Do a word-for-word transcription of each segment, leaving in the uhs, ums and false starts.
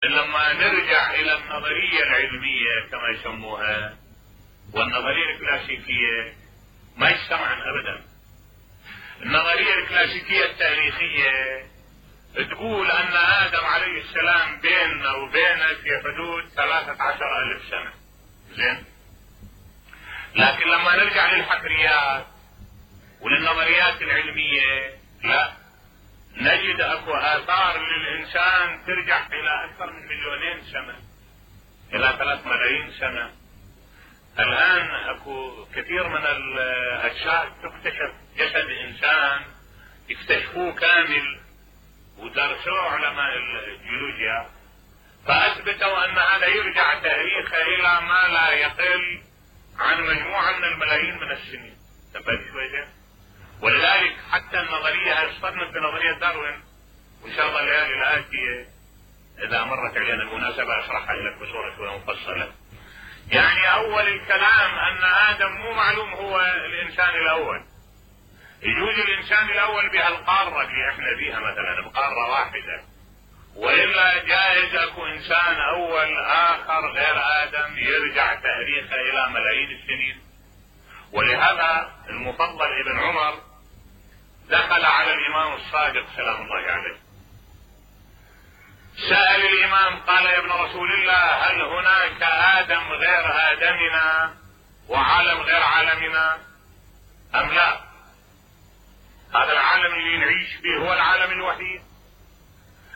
لما نرجع الى النظرية العلمية كما يسموها والنظرية الكلاسيكية ما يجتمعن ابدا. النظرية الكلاسيكية التاريخية تقول ان ادم عليه السلام بيننا وبينك في حدود ثلاثة عشر الف سنة، زين؟ لكن لما نرجع للحفريات وللنظريات العلمية لا، نجد اكو اثار للانسان ترجع الى اكثر من مليونين سنة، الى ثلاث ملايين سنة. الان اكو كثير من الاجساد تكتشف جسد انسان اكتشفوه كامل ودرسوه علماء الجيولوجيا، فاثبتوا ان هذا يرجع تاريخه الى ما لا يقل عن مجموعة من الملايين من السنين. تبقى شوية. ولذلك حتى النظرية اصطدمت بنظرية داروين، وان شاء الله الليالي الآتية اذا مرت علينا المناسبة اشرحها لك بصورة شوية مفصلة. يعني اول الكلام ان ادم مو معلوم هو الانسان الاول، يجوز الانسان الاول بهالقارة اللي احنا بيها مثلا بقارة واحدة، وإلا جائز اكو انسان اول اخر غير ادم يرجع تاريخه الى ملايين السنين. ولهذا المفضل ابن عمر دخل على الامام الصادق سلام الله عليه، سأل الامام قال يا ابن رسول الله هل هناك ادم غير ادمنا وعالم غير عالمنا ام لا؟ هذا العالم اللي نعيش فيه هو العالم الوحيد،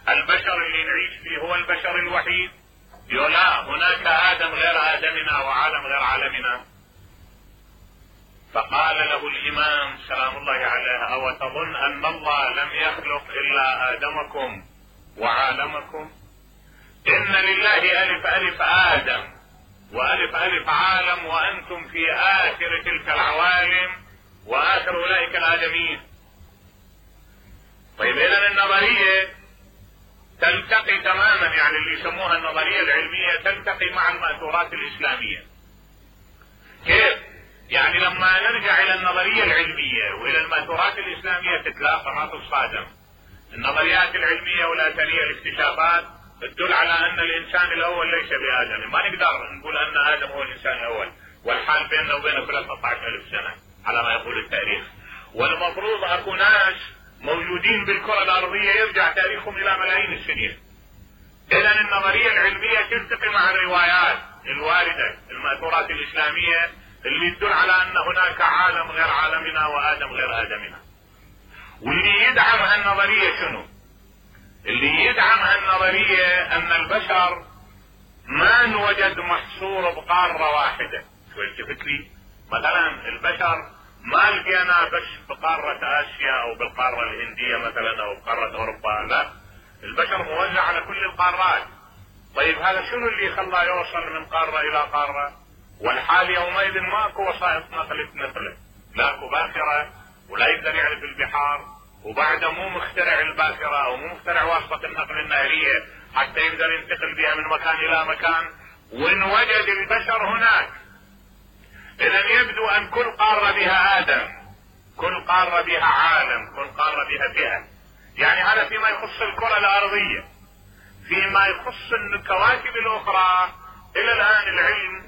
البشر اللي نعيش فيه هو البشر الوحيد. يقول لا، هناك ادم غير ادمنا وعالم غير عالمنا. فقال له الامام سلام الله عليه او تظن ان الله لم يخلق الا ادمكم وعالمكم؟ ان لله الف الف ادم والف الف عالم وانتم في اخر تلك العوالم واخر اولئك الادمين. طيب اذا النظرية تلتقي تماما، يعني اللي يسموها النظرية العلمية تلتقي مع المأثورات الاسلامية. كيف؟ يعني لما نرجع الى النظرية العلمية والى المأثورات الاسلامية تتلاقى ما تصادم. النظريات العلمية والاثرية الاكتشافات تدل على ان الانسان الاول ليس بادم، ما نقدر نقول ان ادم هو الانسان الاول، والحال بيننا وبينه ثلاثة عشر الف سنة على ما يقول التاريخ. والمفروض اكو ناس موجودين بالكرة الارضية يرجع تاريخهم الى ملايين السنين. اذا النظرية العلمية تلتقي مع الروايات الواردة المأثورات الاسلامية اللي تدل على ان هناك عالم غير عالمنا وادم غير ادمنا. واللي يدعم هالنظرية شنو؟ اللي يدعم هالنظرية ان البشر ما انوجد محصور بقارة واحدة. شو التفت لي؟ مثلا البشر ما لقينا بس بقارة اسيا او بالقارة الهندية مثلا او بقارة اوروبا، لا، البشر موزع على كل القارات. طيب هذا شنو اللي خلاه يوصل من قارة الى قارة؟ والحال يومئذ ماكو وسائط نقل تنقله، لاكو باخرة ولا يقدر يعرف البحار، وبعده مو مخترع الباخرة او مو مخترع واسطة النقل النهرية حتى يقدر ينتقل بها من مكان الى مكان، وان وجد البشر هناك. اذا يبدو ان كل قارة بها ادم، كل قارة بها عالم، كل قارة بها فئة. يعني هذا فيما يخص الكرة الارضية. فيما يخص الكواكب الاخرى الى الان العلم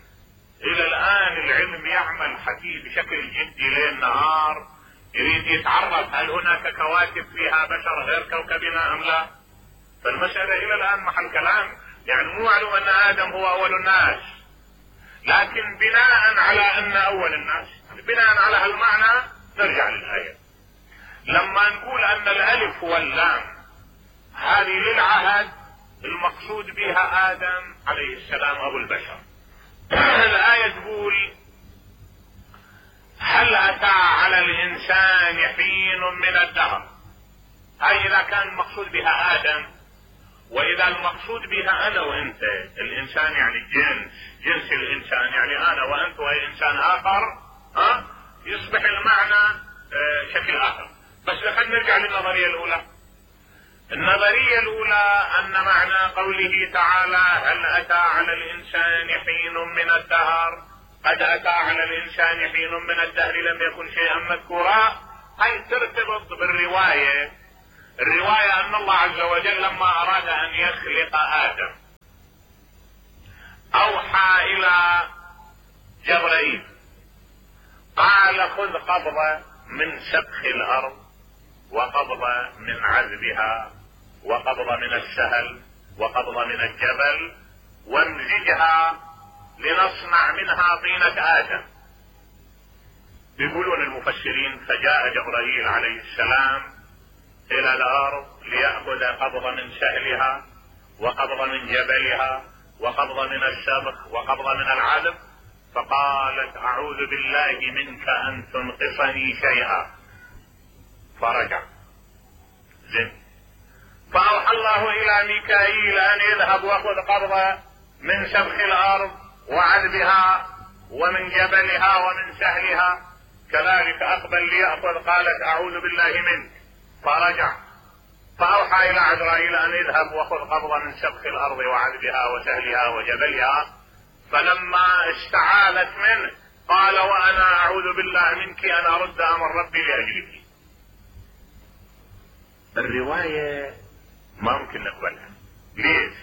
الى الان العلم يعمل حكي بشكل جدي ليل نهار، يريد يتعرف هل هناك كواكب فيها بشر غير كوكبنا ام لا. فالمسألة الى الان محل كلام، يعني مو معلوم ان ادم هو اول الناس، لكن بناء على ان اول الناس، بناء على هالمعنى نرجع للآية. لما نقول ان الالف واللام هذه للعهد المقصود بها ادم عليه السلام ابو البشر. الآية تقول هل اتى على الانسان حين من الدهر. هاي اذا كان المقصود بها ادم، واذا المقصود بها انا وانت، الانسان يعني جنس جنس الانسان يعني انا وانت واي انسان اخر، ها يصبح المعنى اه شكل اخر. بس خلينا نرجع للنظرية الاولى. النظرية الاولى ان معنى قوله تعالى هل اتى على الانسان حين من الدهر، قد اتى على الانسان حين من الدهر لم يكن شيئا مذكورا، هاي ترتبط بالرواية. الرواية ان الله عز وجل لما اراد ان يخلق ادم فاوحى الى جبرائيل قال خذ قبضة من سبخ الارض وقبضة من عذبها وقبضة من السهل وقبضة من الجبل وامزجها لنصنع منها طينة آدم. يقولون المفسرين فجاء جبرائيل عليه السلام الى الارض ليأخذ قبضة من سهلها وقبضة من جبلها وقبضة من السبخ وقبضة من العذب، فقالت اعوذ بالله منك ان تنقصني شيئا، فرجع. زين. فاوحى الله الى ميكائيل ان يذهب واخذ قبضة من سبخ الارض وعذبها ومن جبلها ومن سهلها، كذلك اقبل ليأخذ، قالت اعوذ بالله منك، فرجع. فاوحى الى عزرائيل ان يذهب واخذ قبضة من سبخ الارض وعذبها وسهلها وجبلها، فلما استعاذت منه قال وانا اعوذ بالله منك ان ارد امر ربي لاجلك. الرواية ما ممكن نقبلها. ليش؟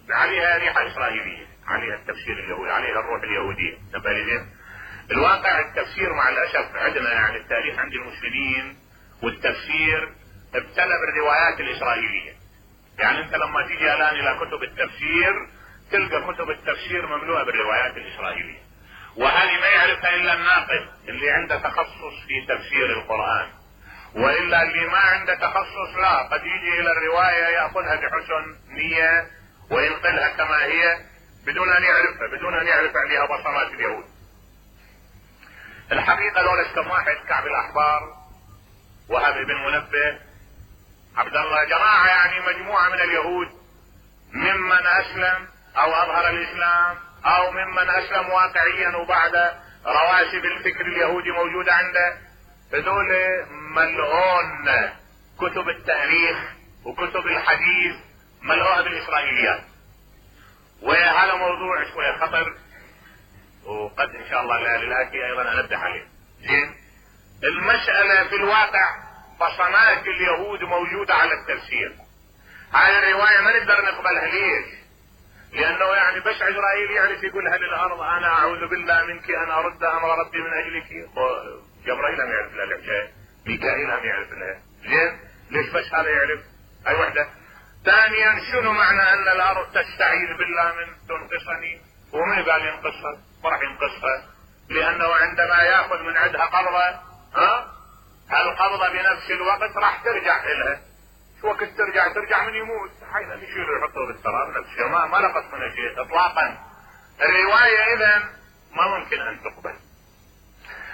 عليها ريحة اسرائيلية، عليها التفسير اليهودي، عليها الروح اليهودية. نبالي الواقع التفسير مع الاسف عندنا، يعني التاريخ عند المسلمين والتفسير ابتلى بالروايات الاسرائيلية. يعني انت لما تيجي الان الى كتب التفسير تلقى كتب التفسير مملوءة بالروايات الاسرائيلية، وهذه ما يعرفها الا الناقد اللي عنده تخصص في تفسير القرآن، والا اللي ما عنده تخصص لا، قد يجي الى الرواية يأخذها بحسن نية وينقلها كما هي بدون ان يعرفها، بدون ان يعرف عليها بصمات اليهود. الحقيقة لولا كم واحد، كعب الاحبار، وهب بن منبه، عبد الله، جماعة يعني مجموعة من اليهود ممن اسلم او اظهر الاسلام او ممن اسلم واقعيا وبعد رواسب الفكر اليهودي موجودة عنده، هذول ملعون كتب التاريخ وكتب الحديث ملعونة بالاسرائيليات، وهذا موضوع شوية خطر، وقد ان شاء الله الليالي الاتي ايضا انبه عليه. زين. المسألة في الواقع بصمات اليهود موجودة على التفسير. هذه الرواية ما نقدر نقبلها. ليش؟ لانه يعني بس عزرائيل يعرف يقولها للارض انا اعوذ بالله منك ان ارد امر ربي من اجلك، جبرائيل هم يعرف لها الحكاية، ميكائيل هم يعرف لها. زين. ليش بس هذا يعرف؟ هاي وحدة. ثانيا شنو معنى ان الارض تستعيذ بالله من تنقصني؟ ومن قال ينقصها؟ ما راح ينقصها، لانه عندما ياخذ من عندها قبضة، ها القبضة بنفس الوقت راح ترجع لها. شو وقت ترجع؟ ترجع من يموت، حين يشيل يحطه بالتراب نفسه، ما ما لقط منه شيء اطلاقا. الرواية اذا ما ممكن ان تقبل،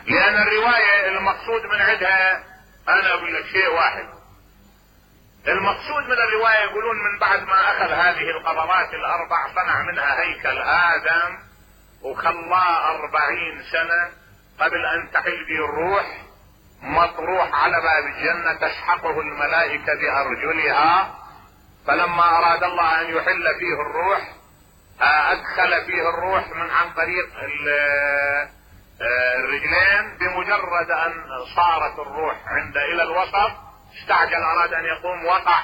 لان الرواية المقصود من عندها، انا اقول لك شيء واحد، المقصود من الرواية يقولون من بعد ما اخذ هذه القبضات الاربع صنع منها هيكل ادم وخلاه اربعين سنة قبل ان تحل به الروح، مطروح على باب الجنة تسحقه الملائكة بارجلها، فلما اراد الله ان يحل فيه الروح ادخل فيه الروح من عن طريق الرجلين، بمجرد ان صارت الروح عند الى الوسط استعجل اراد ان يقوم وقع،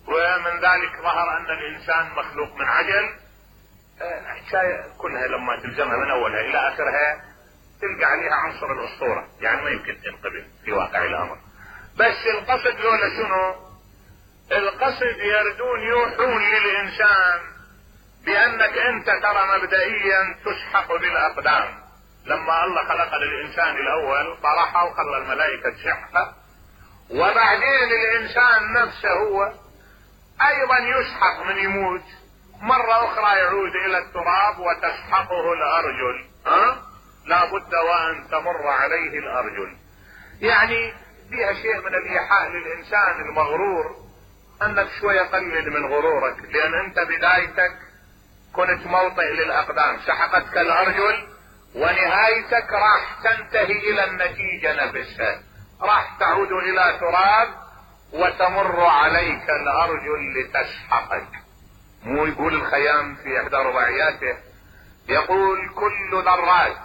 ومن ذلك ظهر ان الانسان مخلوق من عجل. الحكاية كلها لما تلزمها من اولها الى اخرها تلقى عليها عنصر الاسطورة، يعني ما يمكن تنقبل في واقع الامر. بس القصد لولا شنو؟ القصد يردون يوحون للانسان بانك انت ترى مبدئيا تسحق بالاقدام. لما الله خلق الانسان الاول طرحه وخلى الملائكة تسحقه، وبعدين الانسان نفسه هو ايضا يسحق من يموت، مرة اخرى يعود الى التراب وتسحقه الارجل، ها؟ لا بد وان تمر عليه الارجل. يعني فيها شيء من الايحاء للانسان المغرور انك شوية قلل من غرورك، لان انت بدايتك كنت موطئ للاقدام، سحقتك الارجل، ونهايتك راح تنتهي الى النتيجة نفسها، راح تعود الى تراب وتمر عليك الارجل لتسحقك. مو يقول الخيام في احدى رباعياته، يقول كل ذرات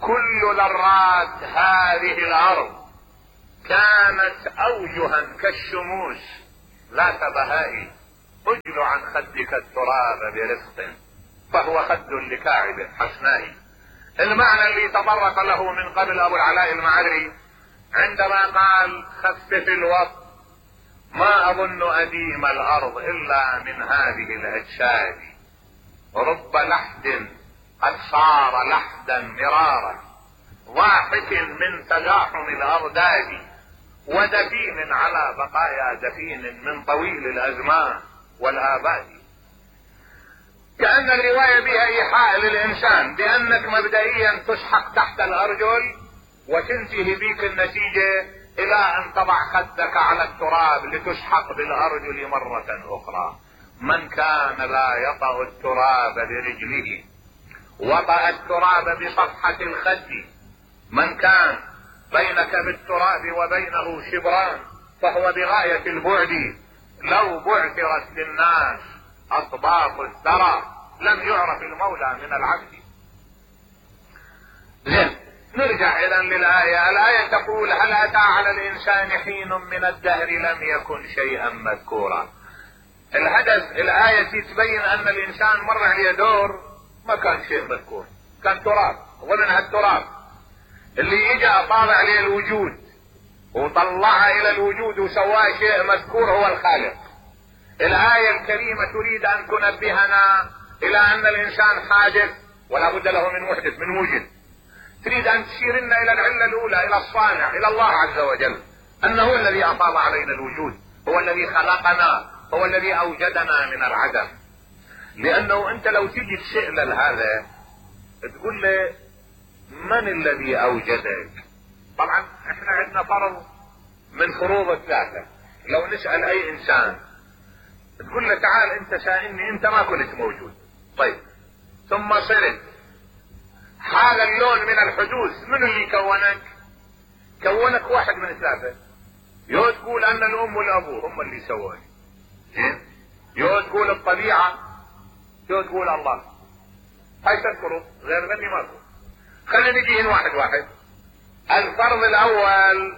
كل ذرات هذه الارض كانت اوجها كالشموس ذات بهاء، عن خدك التراب برفق فهو خد لكاعب حسناء. المعنى اللي تطرق له من قبل ابو العلاء المعري عندما قال خفف الوقت ما اظن اديم الارض الا من هذه الاجساد رب لحد قد صار لحدا مرارا ضاحك من تزاحم الارداد ودفين على بقايا دفين من طويل الازمان والاباد. كأن الرواية بها ايحاء للانسان بانك مبدئيا تسحق تحت الارجل وتنتهي بك النتيجة الى ان تضع خدك على التراب لتسحق بالارجل مرة اخرى. من كان لا يطأ التراب برجله وطأ التراب بصفحة الخد. من كان بينك بالتراب وبينه شبران فهو بغاية البعد. لو بعثرت للناس اطباق الثرى لم يعرف المولى من العبد. زين نرجع اذا للآية. الآية تقول هل اتى على الانسان حين من الدهر لم يكن شيئا مذكورا. الهدف الآية تبين ان الانسان مر عليه دور ما كان شيء مذكور، كان تراب ظنها التراب اللي اجى اطال عليه الوجود وطلعها الى الوجود وسواه شيء مذكور هو الخالق. الآية الكريمة تريد ان تنبهنا الى ان الانسان حادث ولا بد له من محدث من وجد. تريد ان تشيرنا الى العلة الاولى الى الصانع الى الله عز وجل، انه هو الذي افاض علينا الوجود، هو الذي خلقنا، هو الذي اوجدنا من العدم. لانه انت لو تجي تسأل هذا تقول له من الذي اوجدك؟ طبعا احنا عندنا فرض من فروض الثلاثة. لو نسأل اي انسان تقول له تعال انت سائلني انت ما كنت موجود، طيب ثم صرت هذا اللون من الحدوث من اللي كونك؟ كونك واحد من ثلاثة. يو تقول ان الام والابو هم اللي سووني، يو تقول الطبيعة، يو تقول الله. هاي تذكروا غير مني ماكو. خلينا نجي واحد واحد. الفرض الاول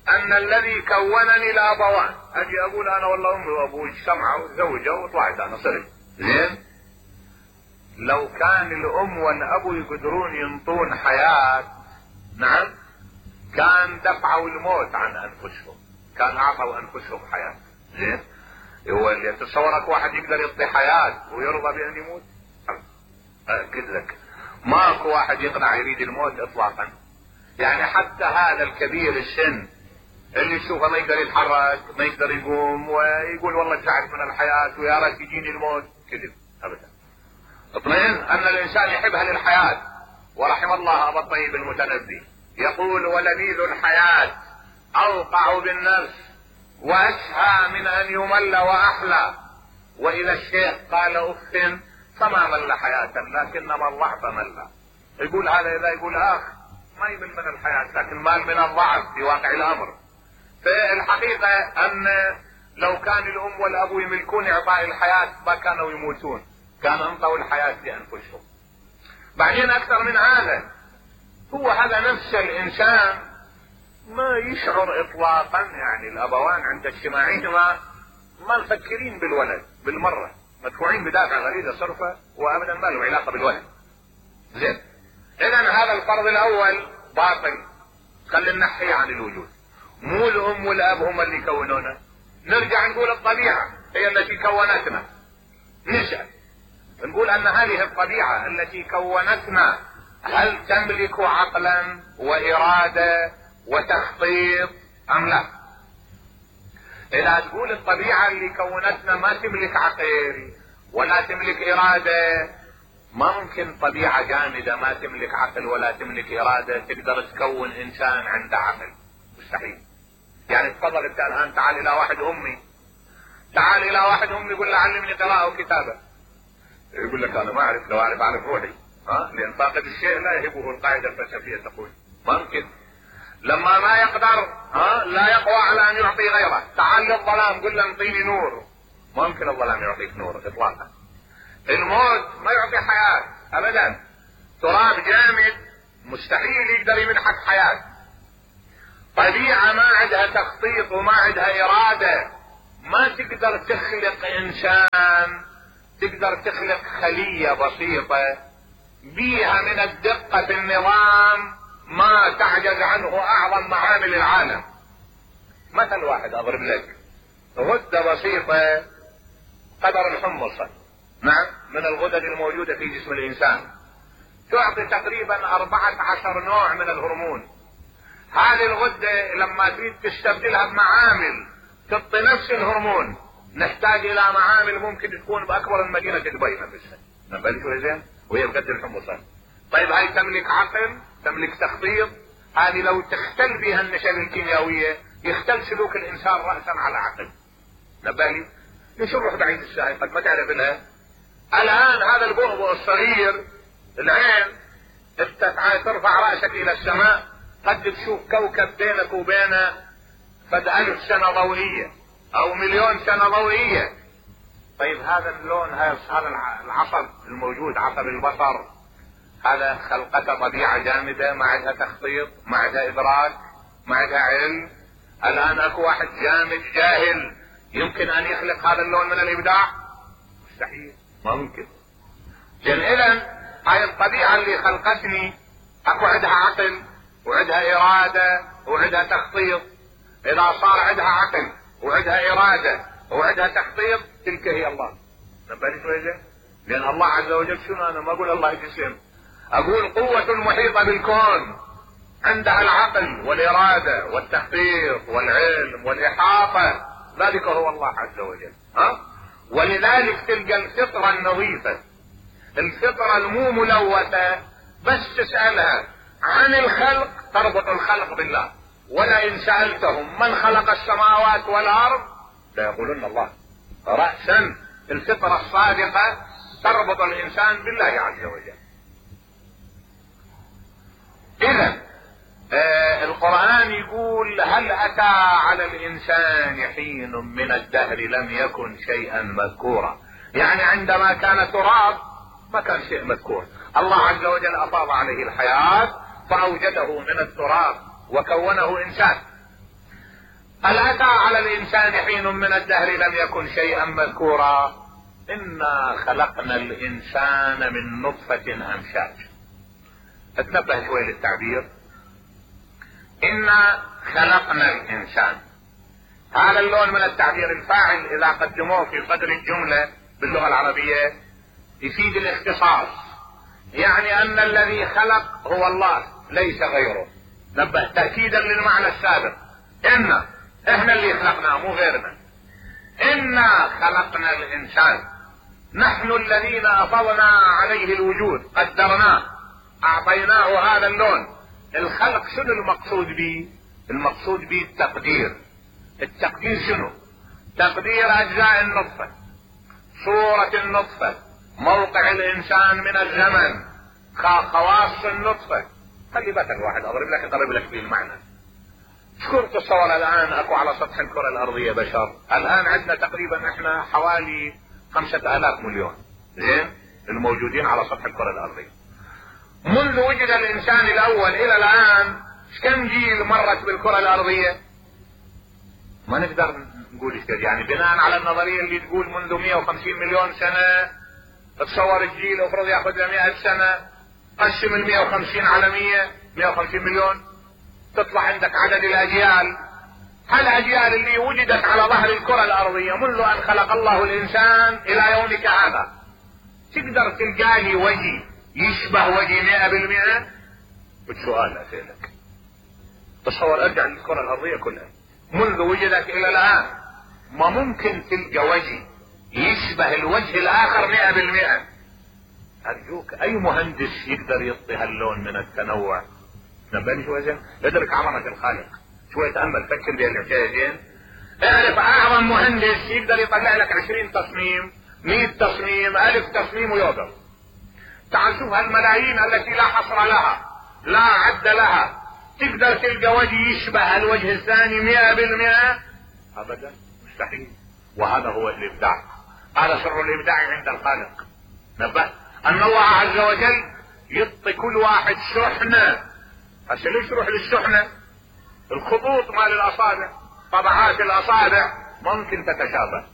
ان الذي كونني الابوان. اجي اقول انا والله امي وابوي اجتمعوا وتزوجوا وطلعت انا صرت زين. لو كان الام والابو يقدرون ينطون حياة نعم كان دفعوا الموت عن انفسهم، كان اعطوا انفسهم حياة زين. هو اللي تصورك واحد يقدر يعطي حياة ويرضى بان يموت؟ اكد لك ماكو واحد يقنع يريد الموت اطلاقا. يعني حتى هذا الكبير السن اللي تشوفه ما يقدر يتحرك ما يقدر يقوم ويقول والله تعبت من الحياة ويا ريت يجيني الموت، كذب ابدا. اطمئن ان الانسان يحبها للحياة. ورحم الله ابا الطيب المتنبي يقول ولذيذ الحياة اوقع بالنفس واشهى من ان يمل واحلى. واذا الشيخ قال اف فما مل حياة لكنما الضعف مل. يقول هذا اذا يقول اخ ما يمل من الحياة لكن مال من الضعف في واقع الامر. فالحقيقة ان لو كان الام والابو يملكون اعطاء الحياة ما كانوا يموتون، كانوا انطوا الحياة لانفسهم. بعدين اكثر من هذا هو هذا نفس الانسان ما يشعر اطلاقا، يعني الابوان عند اجتماعهما ما مفكرين بالولد بالمرة، مدفوعين بدافع غريزة صرفة وابدا ما له علاقة بالولد. زين اذا هذا الفرض الاول باطل، خلينا نحيه عن الوجود. مو الام والاب هم اللي كونونا. نرجع نقول الطبيعة هي التي كونتنا. نسأل نقول ان هذه الطبيعة التي كونتنا هل تملك عقلا وارادة وتخطيط ام لا؟ اذا تقول الطبيعة اللي كونتنا ما تملك عقل ولا تملك ارادة، ما ممكن طبيعة جامدة ما تملك عقل ولا تملك ارادة تقدر تكون انسان عنده عقل، مستحيل. يعني تفضل انت الان تعال الى واحد امي، تعال الى واحد امي يقول له علمني قراءة وكتابة، يقول لك انا ما اعرف، لو اعرف اعرف روحي. ها لان فاقد الشيء لا يهبه القاعدة الفلسفية تقول ممكن. لما ما يقدر ها لا يقوى على ان يعطي غيره. تعال للظلام قل له انطيني نور، ممكن الظلام يعطيك نور اطلاقا. الموت ما يعطي حياة ابدا. تراب جامد مستحيل يقدر يمنحك حياة. طبيعة ما عندها تخطيط وما عندها ارادة ما تقدر تخلق انسان، تقدر تخلق خلية بسيطة بيها من الدقة في النظام ما تعجز عنه اعظم معامل العالم. مثل واحد اضرب لك، غدة بسيطة قدر الحمصة، نعم، من الغدد الموجودة في جسم الانسان، تعطي تقريبا اربعة عشر نوع من الهرمون. هذه الغدة لما تريد تستبدلها بمعامل تعطي نفس الهرمون، نحتاج الى معامل ممكن تكون باكبر من مدينة دبي نفسها، نبالي شوي زين، وهي بقدر الحمصة. طيب هاي تملك عقل، تملك تخطيط، هذه لو تختل بها النشأة الكيميائية يختل سلوك الانسان رأسا على عقل، نبالي ليش نروح بعيد الساعة قد ما تعرف لها. الان هذا البؤبؤ الصغير العين، انت ترفع رأسك الى السماء قد تشوف كوكب بينك وبينه قد الف سنة ضوئية او مليون سنة ضوئية. طيب هذا اللون، هذا العصب الموجود، عصب البصر، هذا خلقته طبيعة جامدة ما عندها تخطيط، ما عندها ادراك، ما عندها علم. الان اكو واحد جامد جاهل يمكن ان يخلق هذا اللون من الابداع؟ مستحيل، ما ممكن. لان اذا هاي الطبيعة اللي خلقتني اكو عندها عقل وعندها ارادة وعندها تخطيط. اذا صار عندها عقل وعندها ارادة وعندها تخطيط تلك هي الله. نبالي شوية، لان الله عز وجل شنو، انا ما اقول الله يجسم، اقول قوة محيطة بالكون عندها العقل والارادة والتخطيط والعلم والاحاطة، ذلك هو الله عز وجل. ها؟ ولذلك تلقى الفطرة النظيفة، الفطرة المو ملوثة، بس تسألها عن الخلق تربط الخلق بالله. ولئن سألتهم من خلق السماوات والارض ليقولن الله. رأسا الفطرة الصادقة تربط الانسان بالله عز وجل. اذا آه القرآن يقول هل اتى على الانسان حين من الدهر لم يكن شيئا مذكورا، يعني عندما كان تراب ما كان شيء مذكور. الله عز وجل افاض عليه الحياة فاوجده من التراب وكونه انسان. هل اتى على الانسان حين من الدهر لم يكن شيئا مذكورا. انا خلقنا الانسان من نطفة امشاج. اتنبه شوي للتعبير، انا خلقنا الانسان، هذا اللون من التعبير الفاعل اذا قدموه في صدر الجملة باللغة العربية يفيد الاختصاص، يعني ان الذي خلق هو الله ليس غيره. نبه تأكيدا للمعنى السابق، انا احنا اللي خلقناه مو غيرنا. انا خلقنا الانسان، نحن الذين افضنا عليه الوجود، قدرناه، اعطيناه هذا اللون. الخلق شنو المقصود به؟ المقصود به التقدير. التقدير شنو؟ تقدير اجزاء النطفة، صورة النطفة، موقع الانسان من الزمن، خواص النطفة. خلي بالك الواحد اضرب لك اضرب لك به المعنى. شكر تصور الان اكو على سطح الكرة الارضية بشر، الان عندنا تقريبا احنا حوالي خمسة الاف مليون، زين، الموجودين على سطح الكرة الارضية. منذ وجد الانسان الاول الى الان كم جيل مرت بالكرة الارضية؟ ما نقدر نقول ايش، يعني بناء على النظرية اللي تقول منذ مئة وخمسين مليون سنة، تصور الجيل افرض ياخذ له مئة سنة، قسم ال مئة وخمسين على مئة، مئة وخمسين مليون، تطلع عندك عدد الاجيال. هالاجيال اللي وجدت على ظهر الكرة الارضية منذ ان خلق الله الانسان الى يومك هذا، تقدر تلقى لي وجه يشبه وجه مئة بالمئة؟ بسؤال اسألك، تصور ارجع للكرة الارضية كلها منذ وجدت الى الان، ما ممكن تلقى وجه يشبه الوجه الاخر مئة بالمئة. ارجوك اي مهندس يقدر يعطي هاللون من التنوع؟ نبالي شوي زين، ادرك عظمة الخالق، شوي تأمل، فكر بهالحكاية زين. اعرف اعظم مهندس يقدر يطلع لك عشرين تصميم، مئة تصميم، الف تصميم ويوقف. تعال شوف هالملايين التي لا حصر لها لا عد لها، تقدر تلقى وجه يشبه الوجه الثاني مئة بالمئة؟ ابدا، مستحيل. وهذا هو الابداع، هذا سر الابداع عند الخالق. نبه ان الله عز وجل يعطي كل واحد شحنة. هسه ليش تروح للشحنة؟ الخطوط مال الاصابع، طبعات الاصابع ممكن تتشابه.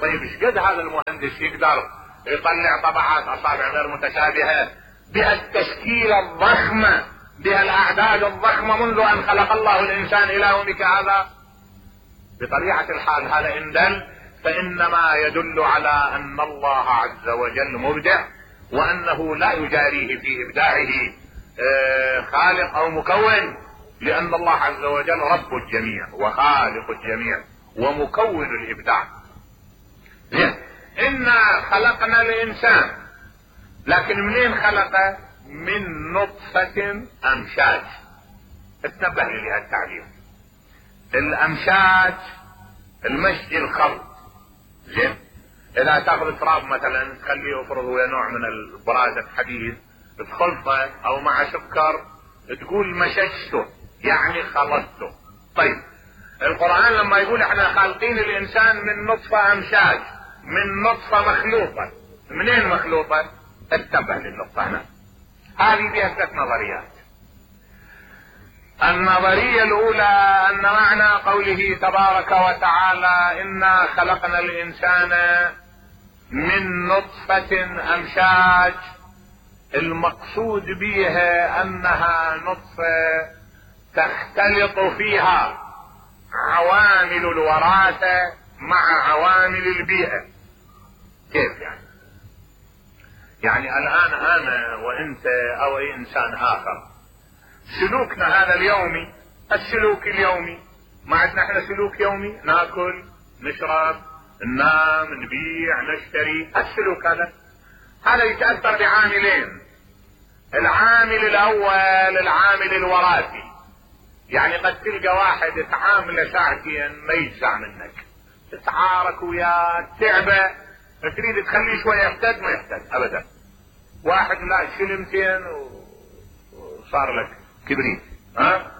طيب ايش قد هذا المهندس يقدر يطلع طبعات اصابع غير متشابهة بها التشكيلة الضخمة بها الاعداد الضخمة منذ ان خلق الله الانسان الى يومك هذا؟ بطبيعة الحال هذا ان دل فانما يدل على ان الله عز وجل مبدع، وانه لا يجاريه في ابداعه خالق او مكون، لان الله عز وجل رب الجميع وخالق الجميع ومكون الابداع. انا خلقنا الانسان، لكن منين خلقه؟ من نطفة امشاج. اتنبه لي هالتعبير. الامشاج المشي الخلط. زين، اذا تاخذ تراب مثلا تخليه يفرض ويا نوع من البراز الحديد تخلطه او مع سكر تقول مشجته يعني خلطته. طيب القرآن لما يقول احنا خالقين الانسان من نطفة امشاج، من نطفة مخلوطة، منين مخلوطة؟ انتبه للنقطة هنا. هذه فيها ثلاث نظريات. النظرية الاولى ان معنى قوله تبارك وتعالى انا خلقنا الانسان من نطفة امشاج، المقصود بها انها نطفة تختلط فيها عوامل الوراثة مع عوامل البيئة. كيف يعني؟ يعني الان انا وانت او اي انسان اخر سلوكنا هذا اليومي، السلوك اليومي، ما عندنا احنا سلوك يومي، ناكل نشرب ننام نبيع نشتري، السلوك هذا هذا يتأثر بعاملين. العامل الاول العامل الوراثي، يعني قد تلقى واحد تعامله ساعتين ما يجزع منك، تتعارك وياه تعبه تريد تخليه شويه يحتاج ما يحتاج ابدا. واحد لا شلمتين وصار لك كبريت. ها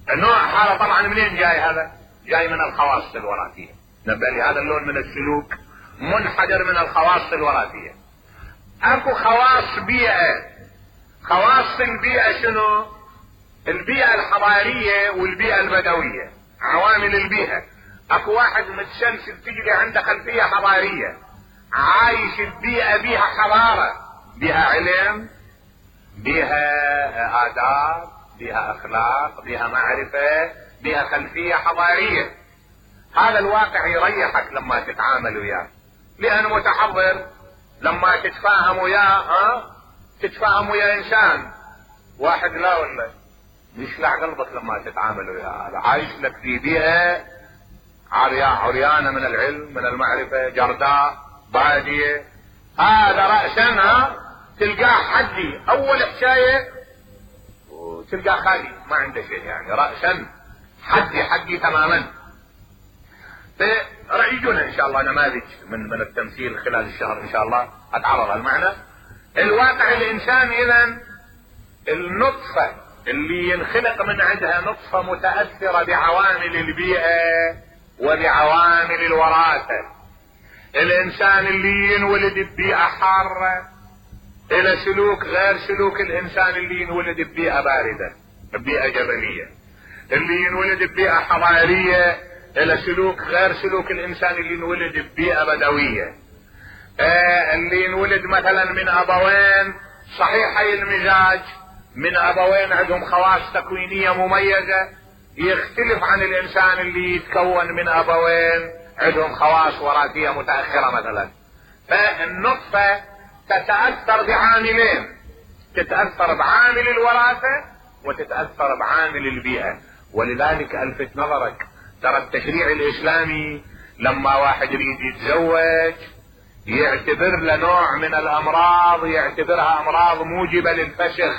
النوع هذا طبعا منين جاي؟ هذا جاي من الخواص الوراثيه. نبه لي هذا اللون من السلوك منحدر من الخواص الوراثيه. اكو خواص بيئه. خواص البيئه شنو؟ البيئه الحضاريه والبيئه البدويه، عوامل البيئه. اكو واحد متسلسل تجري عنده خلفيه حضاريه، عايش البيئه بيها حضاره، بيها علم، بيها آداب، بيها اخلاق، بيها معرفة، بيها خلفية حضارية. هذا الواقع يريحك لما تتعامل وياه، لأنه متحضر. لما تتفاهم وياه ها تتفاهم ويا انسان واحد لا ولا يشلع قلبك لما تتعامل وياه. هذا عايش لك في بيئة عريانة من العلم من المعرفة، جرداء بادية. هذا رأسا ها تلقاه حدي، اول حكاية وتلقاه خالي ما عنده شيء، يعني رأسا حدي حدي تماما. فرأيجونا ان شاء الله نماذج من من التمثيل خلال الشهر ان شاء الله اتعرض على المعنى. الواقع الانسان اذا النطفة اللي ينخلق من عندها نطفة متأثرة بعوامل البيئة وبعوامل الوراثة. الانسان اللي ينولد ببيئة حارة الى سلوك غير سلوك الانسان اللي ينولد ببيئة باردة، ببيئة جبلية. اللي ينولد ببيئة حضارية الى سلوك غير سلوك الانسان اللي ينولد ببيئة بدوية. آه اللي ينولد مثلا من ابوين صحيحي المزاج، من ابوين عندهم خواص تكوينية مميزة، يختلف عن الانسان اللي يتكون من ابوين عندهم خواص وراثية متأخرة مثلا. فالنطفة تتأثر بعاملين، تتأثر بعامل الوراثة وتتأثر بعامل البيئة. ولذلك الفت نظرك ترى التشريع الاسلامي لما واحد يريد يتزوج يعتبر له نوع من الامراض يعتبرها امراض موجبة للفسخ،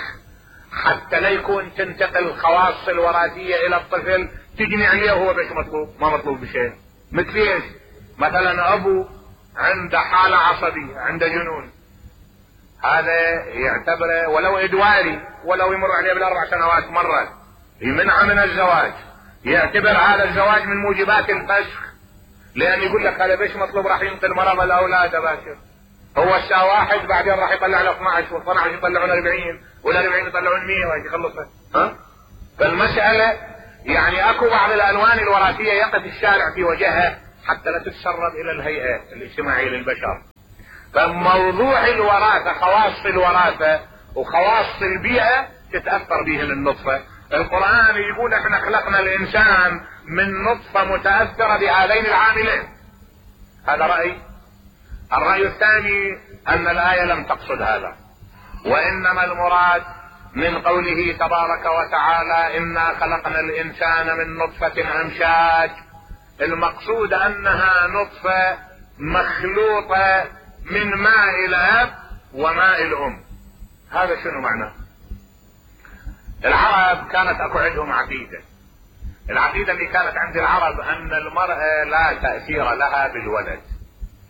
حتى لا يكون تنتقل الخواص الوراثية الى الطفل تجني عليه وهو بش مطلوب ما مطلوب بشيء. مثل ايش؟ مثلا ابو عنده حالة عصبية، عنده جنون، هذا يعتبره ولو ادواري ولو يمر عليه بالاربع سنوات مرة يمنع من الزواج، يعتبر هذا الزواج من موجبات الفسخ، لان يقول لك هذا بيش مطلوب راح ينقل مرض الاولاد باشر. هو الساعة واحد بعدين راح يطلع له اثني عشر واثني عشر يطلعون أربعين والأربعين يطلعون مية وهيك يخلصها. ها؟ فالمسألة يعني اكو بعض الالوان الوراثية يقف الشارع في وجهها حتى لا تتسرب الى الهيئة الاجتماعية للبشر. فموضوع الوراثة، خواص الوراثة وخواص البيئة تتأثر بهم النطفة. القرآن يقول احنا خلقنا الانسان من نطفة متأثرة بهذين العاملين. هذا رأي. الرأي الثاني ان الآية لم تقصد هذا، وانما المراد من قوله تبارك وتعالى انا خلقنا الانسان من نطفة امشاج، المقصود انها نطفة مخلوطة من ماء الاب وماء الام. هذا شنو معناه؟ العرب كانت اكو عندهم عقيدة. العقيدة اللي كانت عند العرب ان المرأة لا تأثير لها بالولد،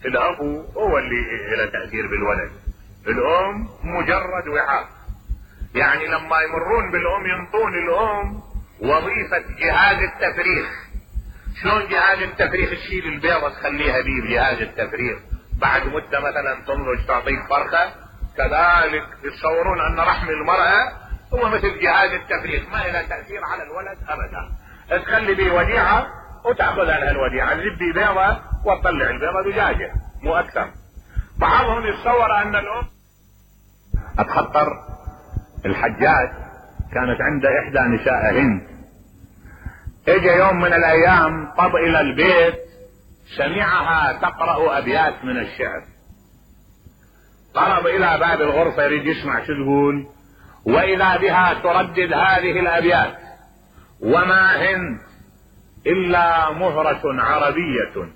الاب هو اللي له تأثير بالولد، الام مجرد وعاء. يعني لما يمرون بالام ينطون الام وظيفة جهاز التفريغ. شلون جهاز التفريغ؟ تشيل البيضة تخليها بيه بجهاز التفريغ، بعد مدة مثلا تنضج تعطيك فرخة، كذلك يتصورون ان رحم المرأة هو مثل جهاز التفريغ، ما له تأثير على الولد ابدا. تخلي بيه وديعة وتأخذ عنها الوديعة، تجيب بيضة وتطلع البيضة دجاجة مو اكثر. بعضهم يتصور ان الام اتخطر. الحجاج كانت عنده احدى نساء هند، اجى يوم من الايام طب الى البيت، سمعها تقرأ ابيات من الشعر، قرب الى باب الغرفة يريد يسمع شو تقول، واذا بها تردد هذه الابيات: وما هند الا مهرة عربية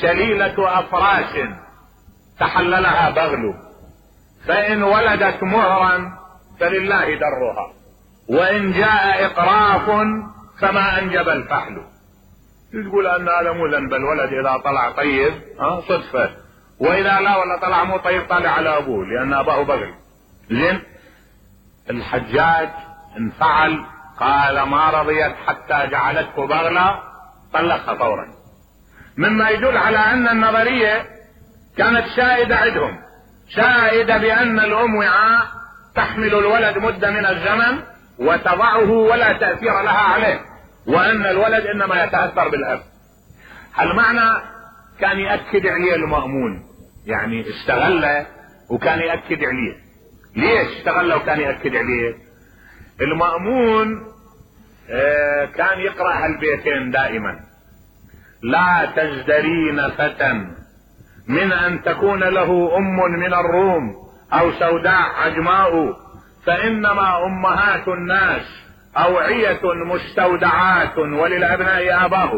سليلة افراش تحللها بغل، فان ولدت مهرا فلله درها، وان جاء اقراف فما انجب الفحل. تقول ان هذا مو ذنب الولد اذا طلع طيب ها صدفة، واذا لا ولا طلع مو طيب طالع على ابوه لان اباه بغل. زين. الحجاج انفعل، قال ما رضيت حتى جعلته بغلة، طلقها فورا. مما يدل على ان النظرية كانت سائدة عندهم، سائدة بان الام وعاء تحمل الولد مدة من الزمن وتضعه ولا تأثير لها عليه، وان الولد انما يتأثر بالاب. هل معنى كان يأكد عليه المأمون، يعني استغله وكان يأكد عليه. ليش استغله وكان يأكد عليه؟ المأمون آه كان يقرأ هالبيتين دائما: لا تزدرين فتى من ان تكون له ام من الروم او سوداء عجماء، فانما امهات الناس اوعية مستودعات وللابناء اباه.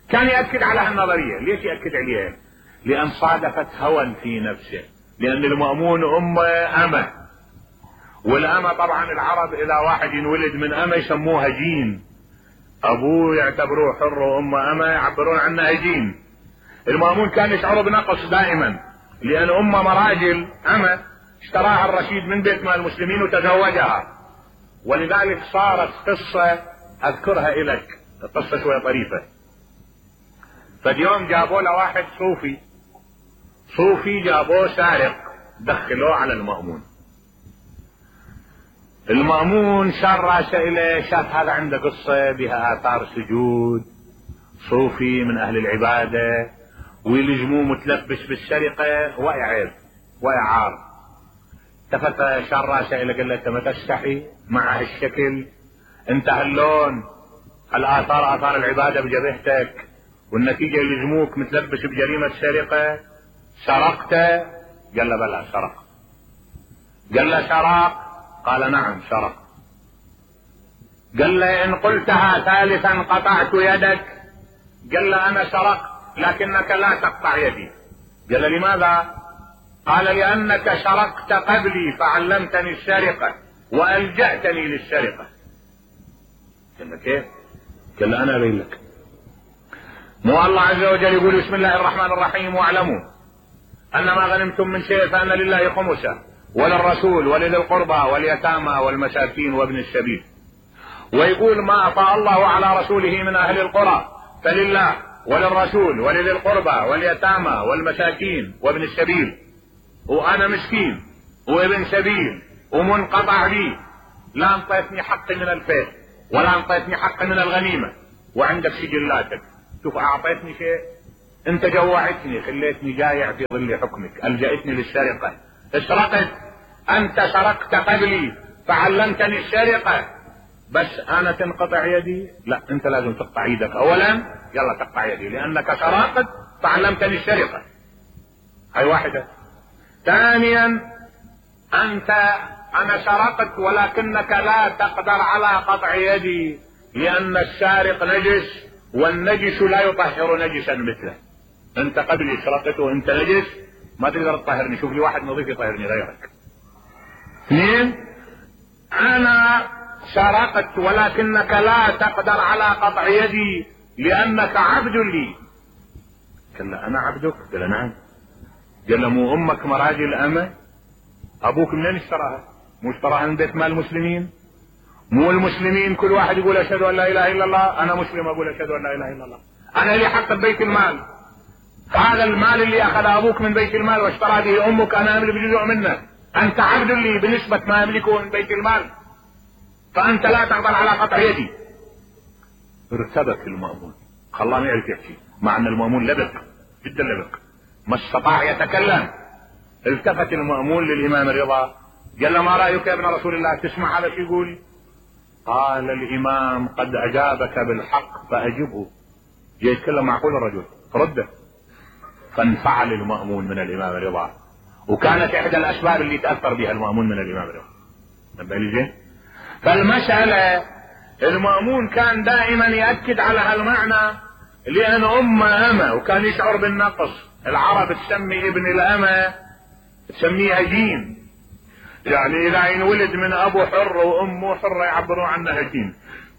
كان يأكد على هالنظرية. ليش يأكد عليها؟ لان صادفت هوى في نفسه، لان المأمون ام امه، والامه طبعا العرب اذا واحد ينولد من امه يسموها جين، ابوه يعتبروه حر وام امه يعبرون عنها جين. المأمون كان يشعر بنقص دائما، لان امه مراجل امه اشتراها الرشيد من بيت مال المسلمين وتزوجها، ولذلك صارت قصة اذكرها الك، قصة شوية طريفة. فاليوم جابوا له واحد صوفي، صوفي جابوه سارق، دخلوه على المأمون. المأمون شار راسه اليه، شاف هذا عنده قصة بها اثار سجود، صوفي من اهل العبادة، ويلجموه متلبس بالسرقة، ويا عيب ويا عار. التفت شار راسه اليه قال له: انت ما تستحي مع هالشكل؟ انت هاللون، الاثار اثار العبادة بجبهتك، والنتيجة يلزموك متلبس بجريمة سرقة، سرقت؟ قال له: بلى سرق. قال له: سرق؟ قال: نعم سرق. قال له: ان قلتها ثالثا قطعت يدك. قال له: انا سرقت لكنك لا تقطع يدي. قال له: لماذا؟ قال: لانك سرقت قبلي فعلمتني السرقة والجأتني للسرقة. قال له: كيف؟ قال له: انا ابين لك. مو الله عز وجل يقول: بسم الله الرحمن الرحيم: واعلموا ان ما غنمتم من شيء فان لله خمسه وللرسول ولذي القربى واليتامى والمساكين وابن السبيل. ويقول: ما افاء الله على رسوله من اهل القرى فلله وللرسول ولذي القربى واليتامى والمساكين وابن السبيل. وانا مسكين وابن سبيل ومنقطع بي، لا انطيتني حقي من الفيء ولا انطيتني حقي من الغنيمة، وعندك سجلاتك شوف اعطيتني شيء، انت جوعتني خليتني جايع في ظل حكمك، الجأتني للسرقة، اسرقت، انت سرقت قبلي فعلمتني السرقة، بس انا تنقطع يدي؟ لا، انت لازم تقطع يدك اولا، يلا تقطع يدي لانك سرقت فعلمتني السرقة. هاي واحدة. ثانيا انت انا سرقت ولكنك لا تقدر على قطع يدي لان السارق نجس والنجس لا يطهر نجسا مثله. انت قبلي سرقت وانت نجس ما تقدر تطهرني، شوف لي واحد نظيف يطهرني غيرك. اثنين انا سرقت ولكنك لا تقدر على قطع يدي لانك عبد لي. قال له انا عبدك؟ قال نعم. قال له مو امك مراجل امه؟ ابوك منين اشتراها؟ مو اشتراها من بيت مال المسلمين؟ مو المسلمين كل واحد يقول اشهد ان لا اله الا الله؟ انا مسلم اقول اشهد ان لا اله الا الله، انا لي حق ببيت المال، هذا المال اللي اخذ ابوك من بيت المال واشترى به امك انا املك جزء منه، انت عبد لي بنسبة ما املكه من بيت المال، فانت لا تقدر على قطع يدي. ارتبك المأمون، خلاه ما يعرف يحكي، مع ان المأمون لبق جدا لبق ما استطاع يتكلم. التفت المأمون للامام الرضا قال له ما رايك يا ابن رسول الله؟ تسمع هذا شو يقول؟ قال الامام قد اجابك بالحق فاجبه. جاي يتكلم معقول الرجل رده. فانفعل المأمون من الامام الرضا، وكانت احدى الاسباب اللي تاثر بها المأمون من الامام الرضا. نبه لي زين؟ فالمسألة المأمون كان دائما يأكد على هالمعنى لان امه امه وكان يشعر بالنقص. العرب تسمي ابن الامه تسميه هجين، يعني اذا ينولد من ابو حر وامه حره يعبروا عنه هجين،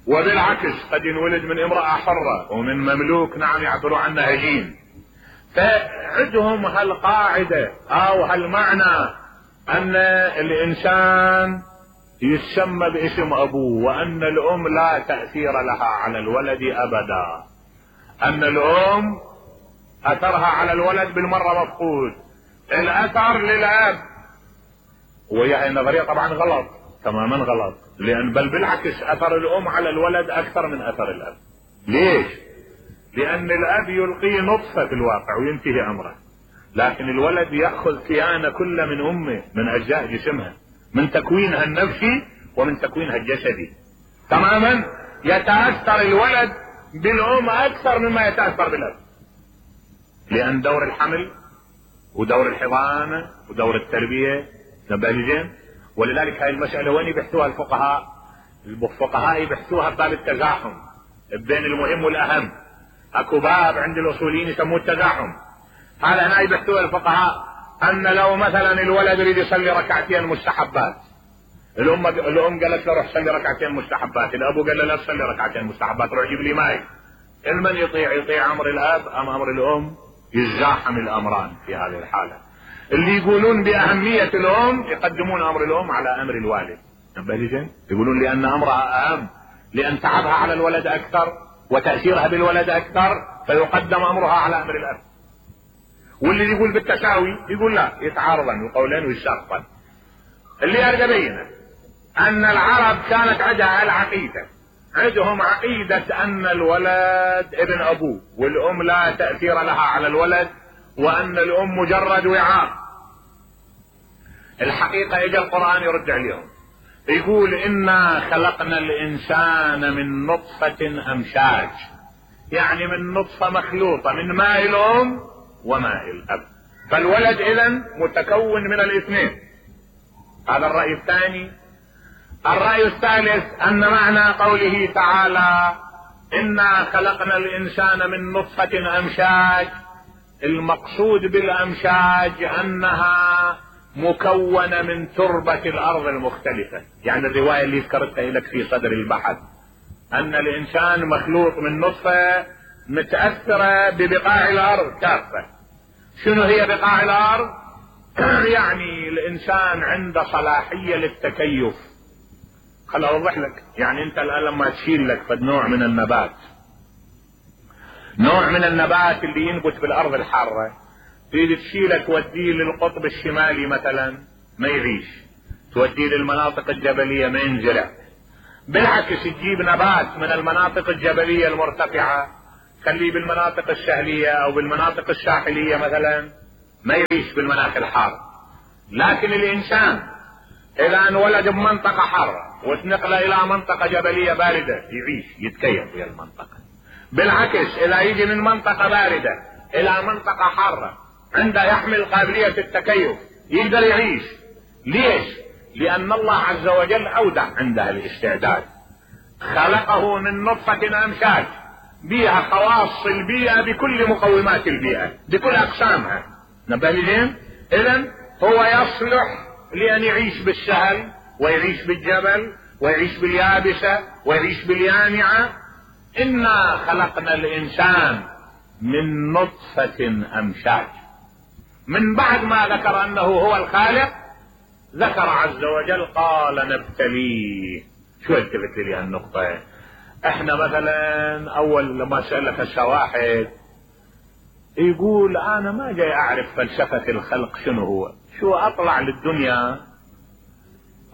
وبالعكس قد ينولد من امرأة حرة ومن مملوك نعم يعبروا عنه هجين. فعندهم هالقاعدة او هالمعنى ان الانسان يسمى باسم ابوه، وان الام لا تأثير لها على الولد ابدا، ان الام اثرها على الولد بالمرة مفقود، الاثر للاب. وهي النظرية طبعا غلط، تماما غلط، لان بل بالعكس اثر الام على الولد اكثر من اثر الاب. ليش؟ لان الاب يلقي نطفة في الواقع وينتهي امره، لكن الولد يأخذ كيان كل من امه من اجزاء جسمها، من تكوينها النفسي ومن تكوينها الجسدي. تماما يتأثر الولد بالام اكثر مما يتأثر بالاب، لان دور الحمل ودور الحضانة ودور التربية نبه زين. ولذلك هاي المسألة وين يبحثوها الفقهاء؟ الفقهاء يبحثوها بباب التزاحم بين المهم والاهم. اكو باب عند الاصوليين يسموه التزاحم، هذا هنا يبحثوها الفقهاء ان لو مثلا الولد يريد يصلي ركعتين مستحبات، الام الام قالت له روح صلي ركعتين مستحبات، الابو قال له لا تصلي ركعتين مستحبات روح جيب لي ماي. المن يطيع؟ يطيع امر الاب ام امر الام؟ يتزاحم الامران في هذه الحالة. اللي يقولون باهمية الام يقدمون امر الام على امر الوالد. يقولون لان امرها اهم، لان تعبها على الولد اكثر وتأثيرها بالولد اكثر، فيقدم امرها على امر الاب. واللي يقول بالتساوي يقول لا، يتعارضن القولين ويساقطن. اللي ارجع بينه ان العرب كانت عندها العقيدة، عندهم عقيدة ان الولد ابن ابوه والام لا تأثير لها على الولد، وان الام مجرد وعاء. الحقيقة اجى القرآن يرد عليهم يقول انا خلقنا الانسان من نطفة امشاج، يعني من نطفة مخلوطة من ماء الام وماء الاب، فالولد اذا متكون من الاثنين. هذا الرأي الثاني. الرأي الثالث ان معنى قوله تعالى انا خلقنا الانسان من نطفة امشاج، المقصود بالامشاج انها مكونة من تربة الارض المختلفة. يعني الرواية اللي ذكرتها لك في صدر البحث ان الانسان مخلوق من نطفة متأثرة ببقاع الارض كافة. شنو هي بقاع الارض؟ يعني الانسان عنده صلاحية للتكيف. خل اوضح لك، يعني انت الان لما تشيل لك فد نوع من النبات، نوع من النبات اللي ينبت بالارض الحارة، تريد تشيله توديه للقطب الشمالي مثلا ما يعيش، توديه للمناطق الجبلية ما ينزرع. بالعكس تجيب نبات من المناطق الجبلية المرتفعة خليه بالمناطق السهلية او بالمناطق الساحلية مثلا، ما يعيش بالمناخ الحار. لكن الانسان اذا انولد بمنطقة حارة واتنقل الى منطقة جبلية باردة يعيش يتكيف في المنطقة. بالعكس اذا يجي من منطقة باردة الى منطقة حارة عنده يحمل قابلية التكيف يقدر يعيش. ليش؟ لان الله عز وجل اودع عنده الاستعداد، خلقه من نطفة امشاج بها خواص البيئة بكل مقومات البيئة بكل اقسامها. نبه لي. اذا هو يصلح لان يعيش بالسهل ويعيش بالجبل ويعيش باليابسة ويعيش باليانعة. انا خلقنا الانسان من نطفة امشاج. من بعد ما ذكر انه هو الخالق ذكر عز وجل قال نبتليه. شو التفت لي هالنقطة؟ احنا مثلا اول لما سألك الشواحد يقول انا ما جاي اعرف فلسفة الخلق شنو هو، شو اطلع للدنيا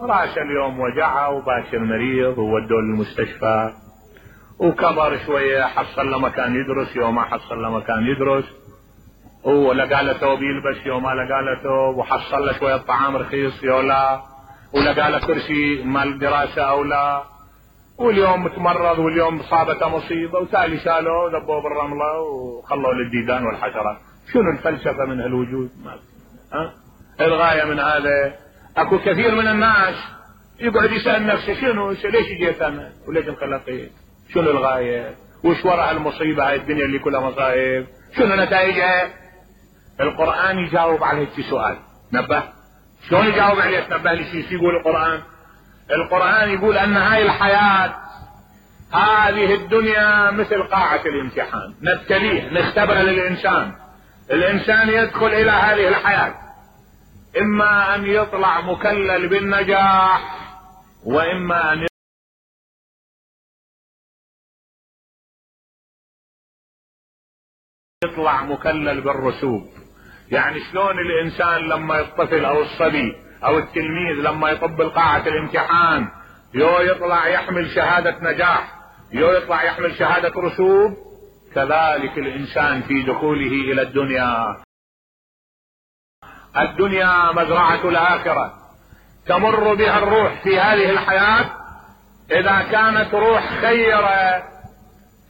راس اليوم وجعه وباشر مريض وودوه للمستشفى وكبر شوية حصل له مكان يدرس، يوم ما حصل له مكان يدرس، ولقى له ثوب يلبس، يوم ما لقى له ثوب، وحصل له شوية طعام رخيص يو لا، ولقى له كرسي مال دراسة او لا، واليوم متمرض واليوم صابته مصيبة وتالي شالوه ذبوه بالرملة وخلوه للديدان والحشرات. شنو الفلسفة من هالوجود؟ ما ها؟ الغاية من هذا اكو كثير من الناس يقعد يسأل نفسه شنو ليش جيت انا وليش انخلقت؟ شنو الغاية؟ وش وراء المصيبة هاي الدنيا اللي كلها مصائب؟ شنو نتائجها؟ القرآن يجاوب على هيك سؤال. نبه شلون يجاوب عليه؟ تنبه لي شو يقول القرآن؟ القرآن يقول ان هاي الحياة هذه الدنيا مثل قاعة الامتحان نبتليه نختبر للانسان. الانسان يدخل الى هذه الحياة اما ان يطلع مكلل بالنجاح واما ان يطلع مكلل بالرسوب. يعني شلون الانسان لما الطفل او الصبي او التلميذ لما يطب القاعة الامتحان يو يطلع يحمل شهادة نجاح يو يطلع يحمل شهادة رسوب، كذلك الانسان في دخوله الى الدنيا. الدنيا مزرعة الاخرة تمر بها الروح في هذه الحياة. اذا كانت روح خيرة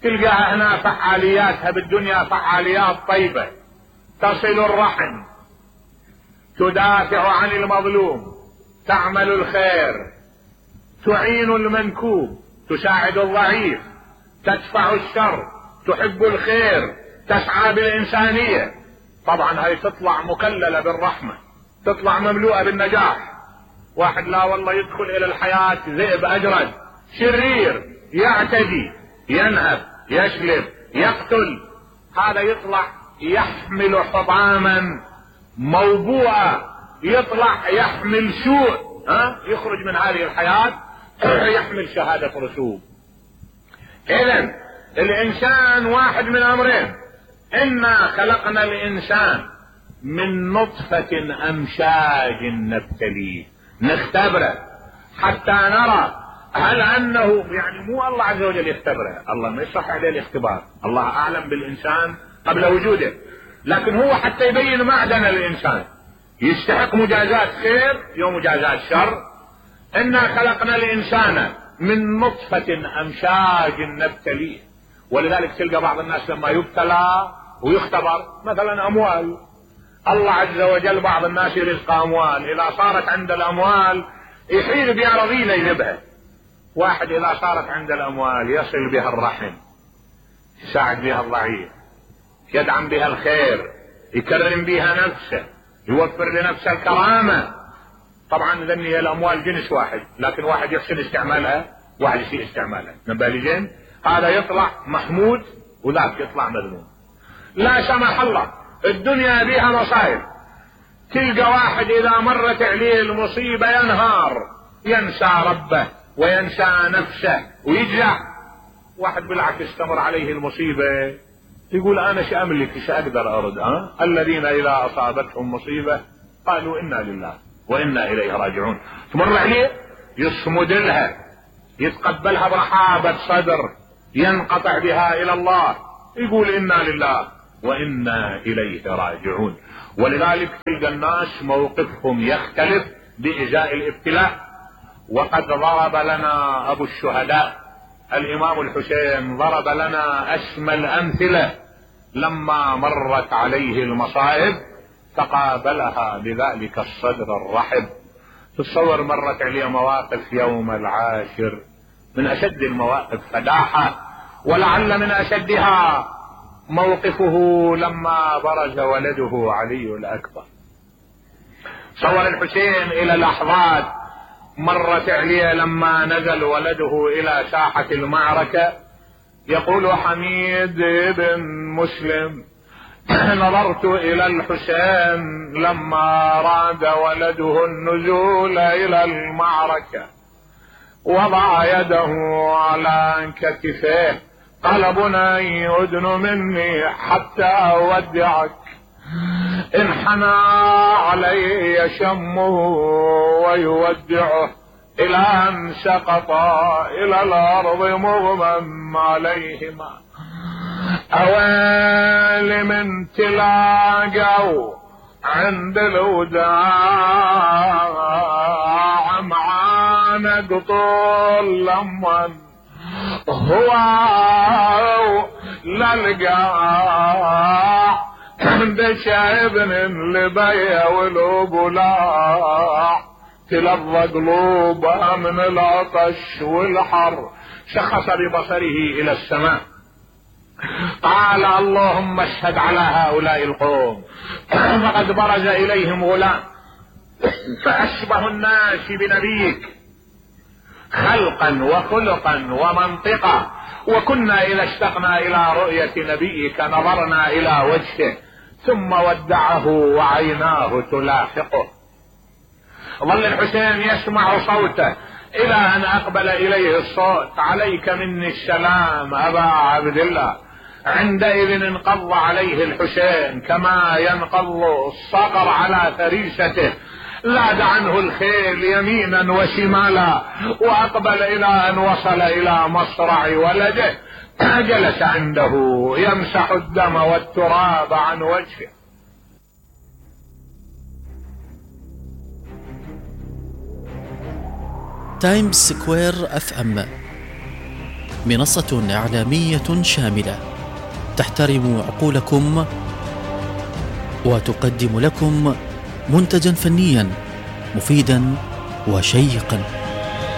تلقاها هنا فعالياتها بالدنيا فعاليات طيبة، تصل الرحم، تدافع عن المظلوم، تعمل الخير، تعين المنكوب، تساعد الضعيف، تدفع الشر، تحب الخير، تسعى بالإنسانية. طبعا هاي تطلع مكللة بالرحمة، تطلع مملوءة بالنجاح. واحد لا والله يدخل إلى الحياة ذئب أجرد شرير يعتدي ينهب يشلب يقتل، هذا يطلع يحمل حطاما موبوءة، يطلع يحمل سوء، ها يخرج من هذه الحياة يحمل شهادة رسوب. اذن الانسان واحد من امرين، انا خلقنا الانسان من نطفة امشاج نبتليه نختبره حتى نرى هل انه يعني مو الله عز وجل يختبره، الله ما يصح عليه الاختبار، الله اعلم بالانسان قبل وجوده، لكن هو حتى يبين معدن الانسان يستحق مجازات خير يوم مجازات شر. انا خلقنا الانسان من نطفة امشاج نبتليه. ولذلك تلقى بعض الناس لما يبتلى ويختبر مثلا اموال، الله عز وجل بعض الناس يرزق اموال، اذا صارت عند الاموال يحيل بها رضيلة يذبها. واحد اذا صارت عند الاموال يصل بها الرحم، يساعد بها الضعيف، يدعم بها الخير، يكرم بها نفسه، يوفر لنفسه الكرامة. طبعا ذني هي الاموال جنس واحد، لكن واحد يحسن استعمالها واحد يسيء استعمالها. نبالجين هذا يطلع محمود وذاك يطلع مذموم. لا سمح الله الدنيا بها مصائب، تلقى واحد اذا مرت عليه المصيبة ينهار، ينسى ربه وينسى نفسه ويجزع. واحد بالعكس تمر عليه المصيبة يقول انا شو املك شو اقدر ارد، ها الذين اذا اصابتهم مصيبة قالوا انا لله وانا اليه راجعون. تمر عليه يصمد لها، يتقبلها برحابة صدر، ينقطع بها الى الله، يقول إنا لله وإنا إليه راجعون. ولذلك تلقى الناس موقفهم يختلف بإزاء الابتلاء. وقد ضرب لنا أبو الشهداء الإمام الحسين ضرب لنا أسمى الأمثلة لما مرت عليه المصائب تقابلها بذلك الصدر الرحب. تصور مرت عليه مواقف يوم العاشر من أشد المواقف فداحة، ولعل من أشدها موقفه لما برز ولده علي الأكبر. صور الحسين إلى لحظات مرت عليه لما نزل ولده إلى ساحة المعركة. يقول حميد بن مسلم: نظرت إلى الحسين لما راد ولده النزول إلى المعركة، وضع يده على كتفه، قال: بني أدن مني حتى أودعك. انحنى عليه شمه ويودعه إلى أن سقط إلى الأرض مغمى عليهما. أويل من تلاقوا عند الوداع معانا طول لمن هو للقاع دش ابن لبيا والقلاع تلظى قلوبها من العطش والحر. شخص ببصره إلى السماء قال: اللهم اشهد على هؤلاء القوم فقد برز إليهم غلام فأشبه الناس بنبيك خلقا وخلقا ومنطقا، وكنا إذا اشتقنا إلى رؤية نبيك نظرنا إلى وجهه، ثم ودعه وعيناه تلاحقه. ظل الحسين يسمع صوته إلى أن أقبل إليه الصوت: عليك مني السلام أبا عبد الله. عندئذ انقض عليه الحسين كما ينقض الصقر على فريسته، لاد عنه الخيل يمينا وشمالا، وأقبل إلى أن وصل إلى مصرع ولده، جلس عنده يمسح الدم والتراب عن وجهه. تايمز سكوير اف ام منصة إعلامية شاملة تحترم عقولكم وتقدم لكم منتجا فنيا مفيدا وشيقا.